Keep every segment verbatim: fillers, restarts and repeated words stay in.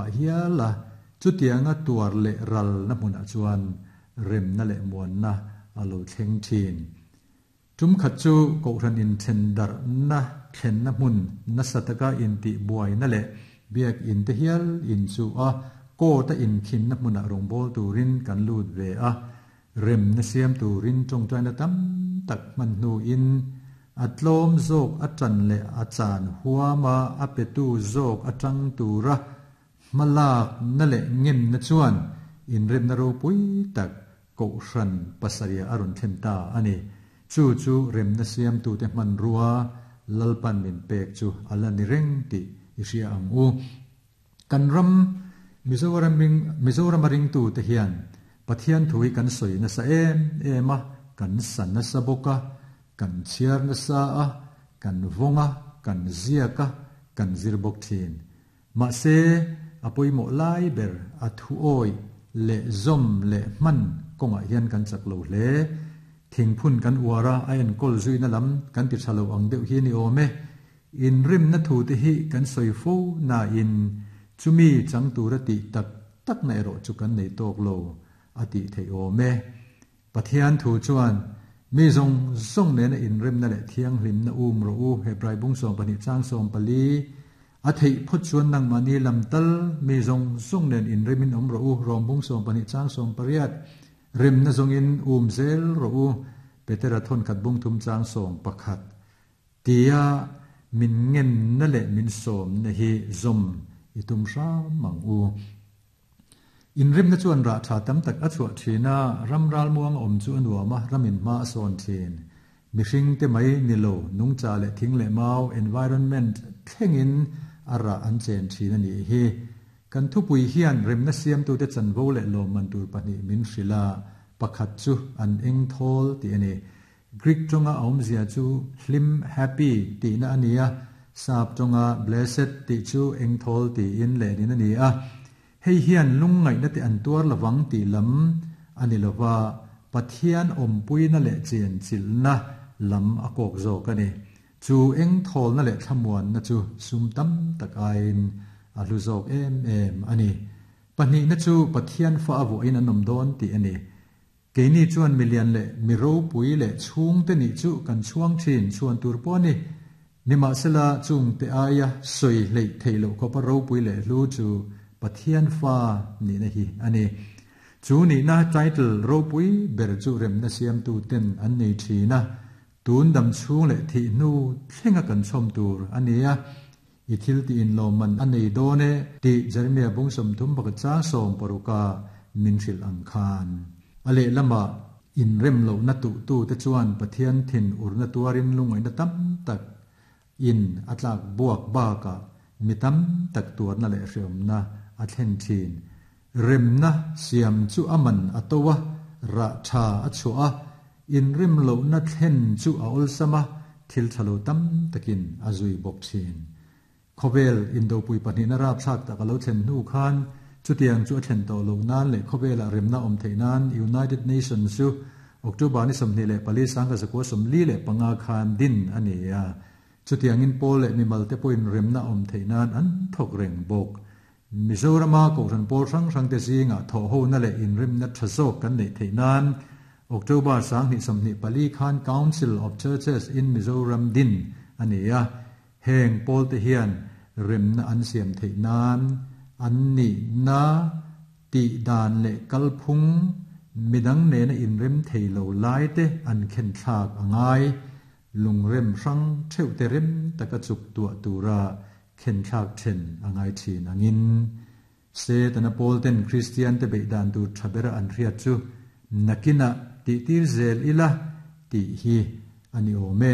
pha hiala chutianga tuar le ral na hmuna chuan rem na le muan na alo thleng thin tum khat chu kohran in thendar na thlen na hmun na sataka in ti buai na le biak in te hial in chu a ko ta in khin na hmuna rongbol turin kan lut ve a rem na siam turin tong tain na tam tak man nu in atlom zok atan le achan huama apetu zok atang tura malak na le ngem na chuan in rem na ro pui tak ko hran pasaria arun thenta ani chu chu rem na siam tu te man ruwa lalpan min pek chu ala ni reng ti isia ang u kan ram Mizoram ring Mizoram ring tu te hian Pathian thui kan soi na sa em ema kan san na sa boka kan chiar na sa a kan vonga kan ziaka kan zirbok thin ma se apoi mo lai ber a thu oi le zom le man konga hian kan chak lo hle thingphun kan uara a en kol zui na lam kan ti thalo ang deuh hi ni ome in rim na thu te hi kan soi fo na in chumi chang tura ti tak tak na ero chu kan nei tok lo ati thei ome Pathian thu chuan mi zong zong ne na in rem na le thiang hlim na um ro u Hebrai bung som pani chang som pali a thei phot chuan nang mani lam tal mi zong zong nen in remin om ro u rom bung som pani chang som pariat rem na zong in um zel ro u Petera thon khat bung thum chang som pakhat tia min ngen na le min som na hi zom itum sha mang u in rim na chuan ra tha tam tak a chua thina ram ral muang om chu anuama ramin ma son thin mihring te mai nilo nungcha le thing le mau environment thlengin ara an chen thina ni hi kan thupui hian rem na siam tu te chanvo le lo man tur pahnih min hrila pakhat chu an eng thol ti ani Greek tonga awmzia chu hlim happy ti na ania sap tonga blessed ti chu eng thol ti in le ni na ni a hei hian lungngai na te an tuar lawang ti lam ani lova Pathian ompui na le chen chil na lam a kok zo ka ni chu eng thol na le thlamuan na chu sum tam tak ain a hlu zawk em em ani pahnih na chu Pathian fa awu in an awm dawn ti ani keini chuan milian le miro pui le chhung te ni chu kan chhuang thin chuan tur pawh ni nima sela chung te aia soi hlei theilo khopa ro pui le hlu chu Pathian fa ni na hi ani chu ni na title ro pui ber chu rem na siam tu ten an nei thina tun dam chung le thi nu thlenga kan chom tur ania i thil ti in lo man anei done ti Jeremia bung som thum bak cha som paruka min hril ang khan ale lama in rem lo na tu tu te chuan Pathian thin urna tuarin lungai na tam tak in atlak buak ba ka mitam tak tuar na le hriam na a thlen thin rem na siam chu aman atowa ra tha a chua in rim lo na thlen chu a ol sama thil thalo tam takin azui bok thin khovel indo pui pahnih na rap thak tak alo thlen nu khan chutiang chu a thlen to lo nan le khowela remna om theinan United Nations chu October ni somni le pali sangka zakwa somli le panga khan din ani a chutiang in pol le mimal te point remna om theinan an thok reng bok Mizorama ko ran pol rang rang te zinga tho ho na le in remna thazok kan nei theinan October sang ni somni pali khan Council of Churches in Mizoram din ani a heng pol te hian remna an siam theinan an ni na ti dan le kalphung midang ne na in rem theilo lai te an khen thlak angai lungrem rang theu te rem taka chuk tua tura khen thlak then angai thin angin se tana pol ten Christian te beidan tu thabera an riat chu nakina ti tir zel ila ti hi ani ome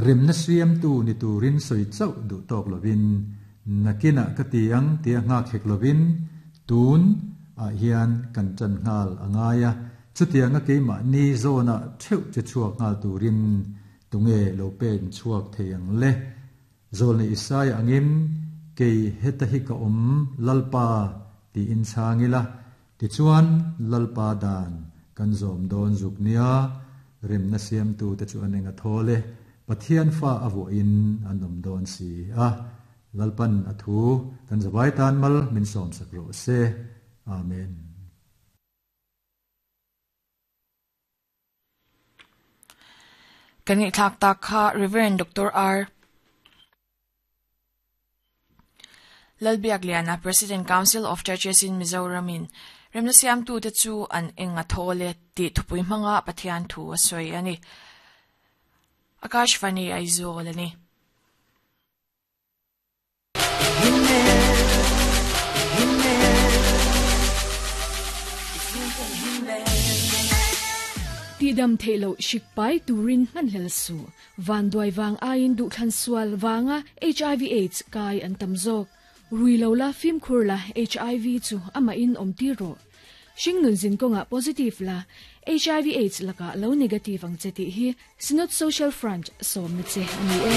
rem na siam tu ni turin soi chau du tok lovin nakina katiang tia nga khek lovin tun a hian kan chan ngal angaya chutianga keima ni zona theu che chuak ngal turin tunge lo pen chuak theiang le zolni Isaiah angim ke heta hi ka om lalpa ti in changila ti chuan lalpa dan kan zom don zuknia rem na siam tu te chu anenga thole Pathian fa awo in anom don si a Lalpan a thu kan zawai tan mal min sawm sak rawh se. Amen. Kan ngaihthlak tak kha Reverend Doctor R. Lalbiakliana, President Council of Churches in Mizoram in remna siamtu te chu an eng a thaw le tih thupui hmanga Pathian thu a sawi a ni. Akashvani Aizawl a ni. Tidam theilo shikpai turin hmanhlel su van duai wang aiin du thlan sual wanga H I V AIDS kai an tamzok ruilo la fim khur la H I V chu ama in om ti ro shingnun zin konga positive la H I V AIDS laka lo negative ang cheti hi Synod Social Front som na che ani e.